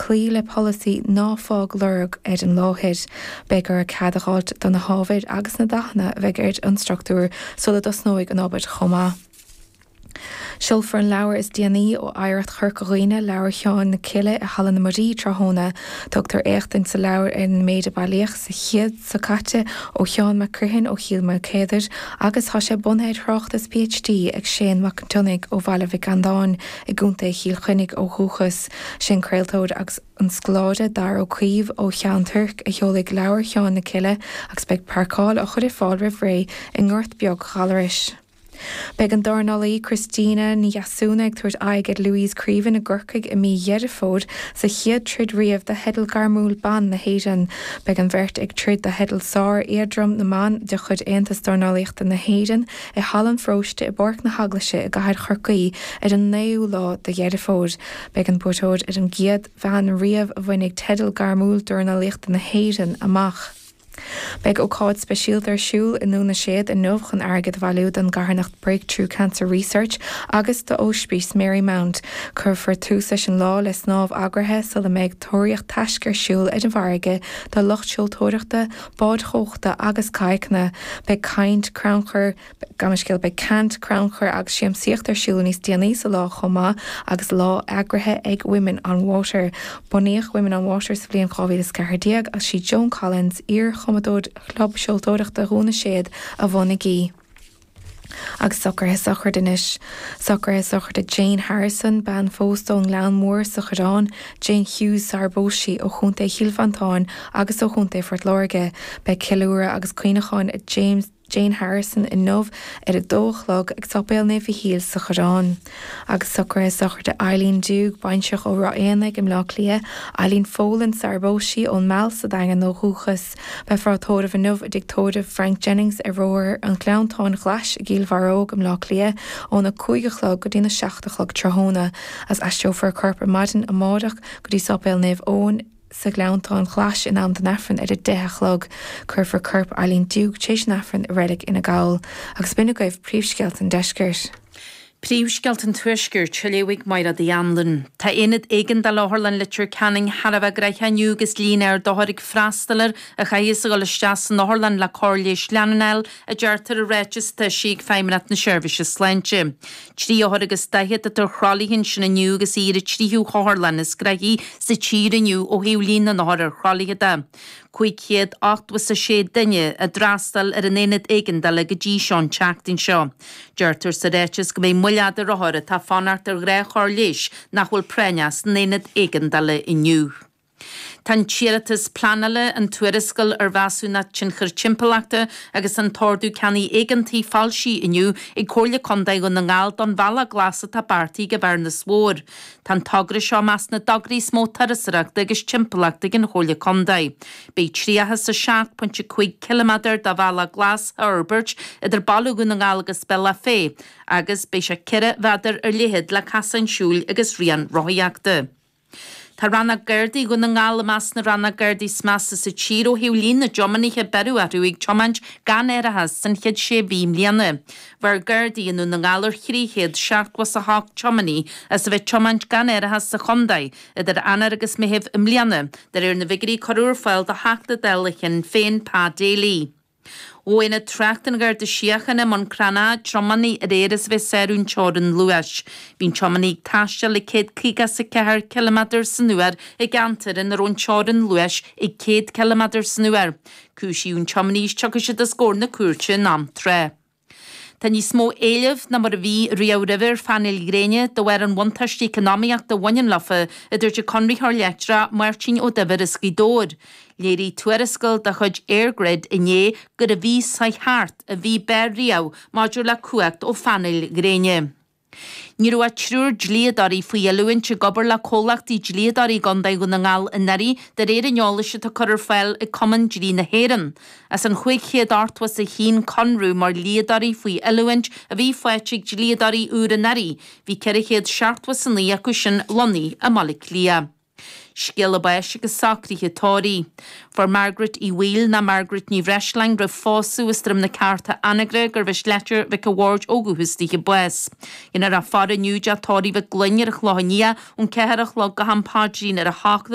cloí le polasaí 'ná fág lorg' ar an láthair. Beidh orthu cead a dh'fháilt do na hábhair agus na dathanna a bheidh ar an struchtúr sula dtosnóidh an obair chomh maith. Seolfar an leabhar is déanaí ó Oidhreacht Chorca Dhuibhne, Leabhar Sheáin na Cille i Halla na Muirí tráthnóna. Tugtar éachtaint sa leabhar ar an méid a bailíodh sa chéad seo caite ó Sheán Mac Criomhthain ó Chill Maoilchéadair agus tá sé bunaithe ar thráchtas PhD ag Séan Mac Cionnaith ó Bhaile Mhic Andáin i gContae Chill Chainnigh ó dhúchas. Sé'n craoltóir agus an scoláire Daragh Ó Caoimh ó Cheann Toirc a sheolfaidh Leabhar Sheáin na Cille agus beidh páirceáil á chur ar fáil roimh ré i nGort Beag Ghallarais. Beidh an dornálaí Christina Ní Dheasúna ag tabhairt aghaidh ar Louise Creaven i gCorcaigh i mí Dheireadh Fómhair sa chéad troid riamh do theideal gairmiúil ban na hÉireann. Beidh an bheirt ag troid do theideal sár-éadrom na mban de chuid Aontas Dornálaíochta na hÉireann i Halla an Pharóiste i bPáirc na hEaglaise i gcathair Chorcaí ar an 9ú lá de Dheireadh Fómhair. Beidh an buaiteoir ar an gcéad bhean riamh a bhainfidh teideal gairmiúil dornálaíochta na hÉireann amach. Beidh ócáid speisialta ar siúl i nDún na Séad inniu chun airgead a bhailiú don gcarthanacht Breakthrough Cancer Research agus d'Óispís Marymount. Cuirfear tús leis an lá le snámh eagraithe sula mbeidh tóraíocht taisce ar siúl ar an bhfarraige do lucht seoltóireachta, báid thóchta agus cadhcanna. Beidh caint, crannchur, Gabh mo leithscéal, beidh caint, crannchur agus siamsaíocht ar siúl níos déanaí sa lá chomh maith agus lá eagraithe ag Women on Water. Bunaíodh Women on Water sa bhliain 2014 agus sí Joan Collins, iar-chumadóir Chlub Seoltóireachta Dhún na Séad a bhunaigh í. Agus socruithe sochraide anois. Socruithe sochraide Jane Harrison, bean phósta ón nGleann Mór sa Choireán, Jane Hughes sarar phós sí, ó Chontae Chill Mhantáin agus ó Chontae Phort Láirge. Beidh ceiliúradh agus cuimhneachán James. Jane Harrison inniu ar a dó a chlog ag Sáipéal Naomh Mhichíl sa Choireán. Agus socruithe sochraide Eileen Dugue, baintreach ó Ráth Éanaigh i mBleá Cliath, Eileen Folan sarar phós sí ón Meal sa Daingean ó dhúchas. Beifear á tórramh inniu i dtigh tórraimh Frank Jennings ar Bhóthar an Ghleanntáin Ghlais i gCill Bharróg i mBleá Cliath óna 5 a chlog go dtína 7 a chlog tráthnóna. Agus aistreofar a corp ar maidin amárach go dtí Sáipéal Naomh Eoin, sa Ghleanntán Ghlais in am don Aifreann ar a 10 a chlog. Cuirfear corp Eileen Dugue tar éis an Aifrinn i Reilig Fhine Gall. Agus b'in agaibh príomhscéalta an deiscirt. Príomhscéalta an Tuaiscirt, á léamh ag Mairéad Uí Anluain. Tá aonad éigeandála Otharlann Leitir Ceanainn thar a bheith gnoitheach inniu agus líon ard othar ag freastal air a chaithfeas a dhul isteach san otharlann le cóir leighis leanúnach a fháil, a deirtear i ráiteas atá eisithe ag Feidhmeannacht na Seirbhíse Sláinte. 3 othar agus 40 atá ar thralaithe ansin inniu agus í ar an tríú hotharlann is gnoithí sa tír inniu ó thaobh líon na n-othar ar thralaithe de. 586 duine a d'fhreastail ar an aonad éigeandála go dtí seo an tseachtain seo. Deirtear sa ráiteas go mbeidh moill fhada ar othair atá ag fanacht ar ghnáthchóir leighis nach bhfuil práinneach san aonad éigeandála inniu. Tá an t-iarratas pleanála, an tuarascáil ar mheasúnacht tionchair timpeallachta agus an t-ordú ceannaigh éigeantaigh foilsithe inniu ag Comhairle Contae Dhún na nGall don Bhealach Glas atá beartaithe ag an Bhearnas Mhór. Tá an togra seo i measc na dtograí is mó turasóireachta agus timpeallachta ag an Chomhairle Contae. Beidh 37.5 ciliméadar de Bhealach Glas á fhorbairt idir Baile Dhún na nGall agus Bealach Féich agus beidh sé 4 mhéadar ar leithead le casáin siúil agus rian rothaíochta. Tá Rannóg Gardaí Dhún na nGall i measc na rannóg Gardaí is measa sa tír ó thaobh líon na dtiománaithe a beireadh orthu ag tiomáint gan árachas san chéad sé mhí i mbliana. Bheir Gardaí i nDún na nGall ar 378 tiománaí as a bheith ag tiomáint gan árachas sa chontae idir Eanáir agus Meitheamh i mbliana, de réir na bhfigiúirí a cuireadh ar fáil do Theachta Dála Shinn Féin Pa Daly. Ghabh Aonad Tráchta an Gharda Síochána i mBun Cranncha tiománaí aréir as a bheith ag sárú an teorainn luais. Bhí an tiománaí ag taisteal ag 154 ciliméadar san uair i gceantar ina raibh an teorainn luais ag 100 ciliméadar san uair. Cúisíodh an tiománaí is tiocfaidh siad os comhair na cúirte in am tráth. Tá níos mó éilimh ná mar a bhí riamh roimhe ar phainéil ghréine de bharr an bhuntáiste eacnamaíochta a bhaineann leofa, a dúirt an Conraitheoir Leictreach Máirtín Ó Duibhir as Gaoth Dobhair. Léirigh tuarascáil de chuid EirGrid inné gur an mhí seo thart an mhí b'fhearr riamh maidir le cumhacht ó phainéil ghréine. Ní raibh ach triúr dlíodóirí faoi oiliúint ag obair le comhlachtaí dlíodóirí i gContae Dhún na nGall anuraidh, de réir an eolais atá curtha ar fáil ag Cumann Dlí na hÉireann. As an 581 conradh mar dhlíodóirí faoi oiliúint a bhí faighte ag dlíodóirí úr anuraidh, bhí 479 acu sin lonnaithe i mBaile Átha Cliath. Scéala báis agus socruithe tórraimh. Fuair Margaret Uí Bhaoill ná Margaret Ní Bhreisleáin roimh phósadh as Droim na Ceárta Anagaire gurbh as Leitir Mhic a' Bhaird ó dhúchas daoithe bás. Dhéanfar a faire inniu i dTeach Tórraimh Mhic Gloinn ar an Chlochán Liath ón 4 a chlog go ham paidrín ar a hocht.